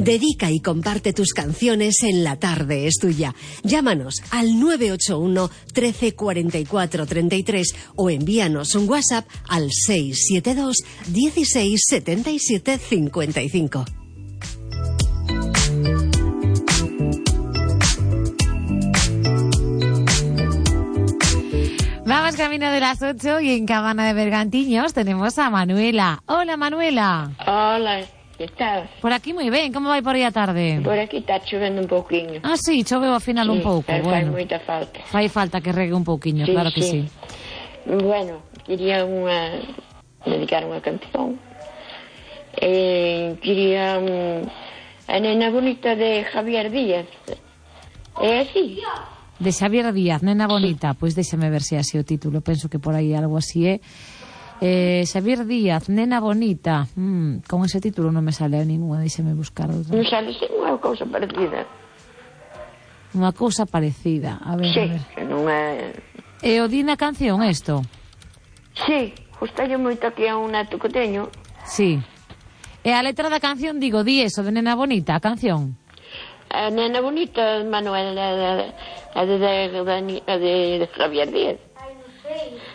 Dedica y comparte tus canciones en La Tarde es Tuya. Llámanos al 981 13 44 33 o envíanos un WhatsApp al 672 16 77 55. Vamos camino de las 8 y en Cabana de Bergantiños tenemos a Manuela. Hola, Manuela. Hola, que tal? Por aquí moi ben, como vai por aí a tarde? Por aquí está chovendo un pouquiño. Ah, sí, choveu ao final un pouco. Fai Bueno, moita falta. fai falta que regue un pouquiño, claro que sí. Bueno, quería dedicar unha canción. Quería a Nena Bonita de Javier Díaz. É así? De Xavier Díaz, Nena Bonita. Pois déxame ver se é así o título. Penso que por aí algo así é. Xavier Díaz, Nena Bonita. Con ese título non me sale a ninguna. Déxame buscar outra. Non sale unha cousa parecida. Unha cousa parecida. A ver, Sí, a ver. que non é... E o di na canción isto? Sí, gustalle moito aquí a un neto que teño. Sí. E a letra da canción, digo, di eso de Nena Bonita, a canción. A Nena Bonita, Manuel, a de Javier Díaz.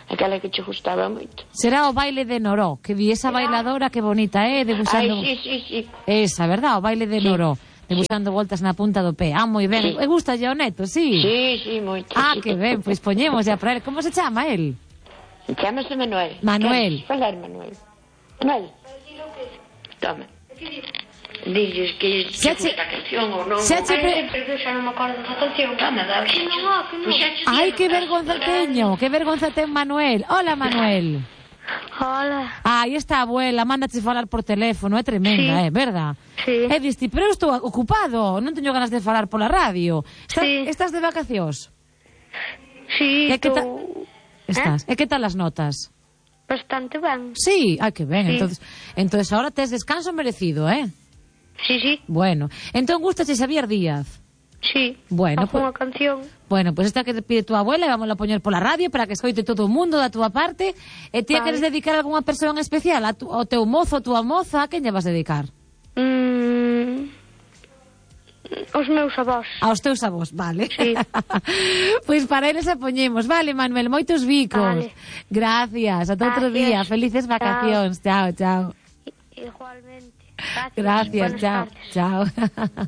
Aquela que che gustaba moito. Será o baile de Noró, que vi esa bailadora que bonita, debuxando... Ai, sí. Esa, verdad, o baile de Noró, debuxando voltas na punta do pé. Ah, moi ben. Sí. E gusta o neto, sí? Sí, moito. Ah, sí. que ben, pois poñemos ya para él. Como se chama él? Chámase Manuel. Manuel. Queres falar, Manuel? Manuel. Toma. Dices que Se che gusta a canción ou non. Se Pero xa non me acordo da canción. Toma, dale. Que non. Ai, que vergonza teño, que vergonza ten Manuel. Hola, Manuel. Hola. Aí está a abuela, mándache falar por teléfono, é tremenda, Sí. verdad? Sí. E diste, pero eu estou ocupado, non teño ganas de falar pola radio. Sí. Estás de vacacións? Sí, E que tú... Estás. E que tal as notas? Bastante ben. Sí, ai que ben, Sí. entonces ahora tes descanso merecido, Sí. Bueno, entón gustache Xavier Díaz. Sí. Bueno, Fago unha canción. Bueno, pues esta que te pide tu abuela e vamos a poñer pola radio para que escoite todo o mundo da túa parte. E ti Vale. queres dedicar a algunha persoa en especial? Ao teu mozo, a túa moza, a quen lle vas dedicar? Os meus avós. Aos teus avós, vale. Sí. Pois para eles a poñemos. Vale, Manuel, moitos bicos. Vale. Gracias, ata outro Gracias. día. Felices vacacións. Chao, chao. Igualmente. Gracias, Buenas chao, tardes. chao.